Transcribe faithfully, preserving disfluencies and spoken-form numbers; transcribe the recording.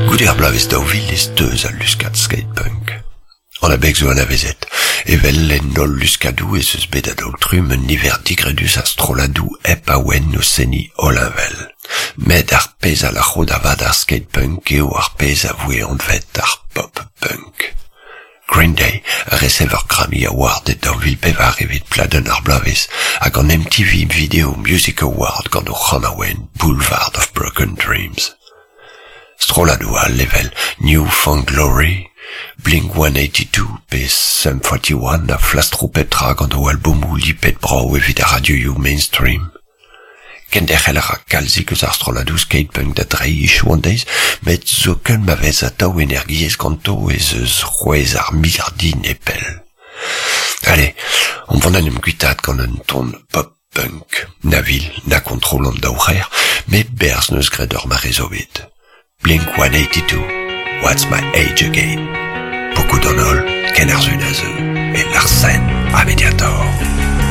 Goude ar bloavezh daou vil e steuz al luskad skate-punk. An abeg zo anavezet. Evel en holl luskadoù ez eus bet a-daol-trumm un niver digredus a strolladoù hep awen o seniñ hollheñvel. Met ar pezh a lâro da vat ar skate-punk eo ar pezh a voe anvet ar pop-punk. Green Day a resev ur Grammy Award e daou vil pevar evit pladenn ar bloavezh hag an M T V Video Music Award gant o c'hanaouenn Boulevard of Broken Dreams. Strolladoù all evel New Found Glory, Blink one eighty-two pe Sum forty-one a flastro pep tra gant o albomoù lipet brav evit ar radioioù mainstream. Kenderc'hel a ra kalzik eus ar strolladoù skate-punk da dreiñ hiziv an deiz, met zoken ma vez atav energiezh ganto ez eus c'hwezh ar miliardin e pell. Allez, on vont en em guitaat gant un ton pop-punk, na vil, na kontrol an daou c'her, met berzh n'eus graet ur mare zo bet. Blink one eighty-two, What's My Age Again? Beaucoup d'en holl, ken ar zun a zeu, et Larsen, a Mediator.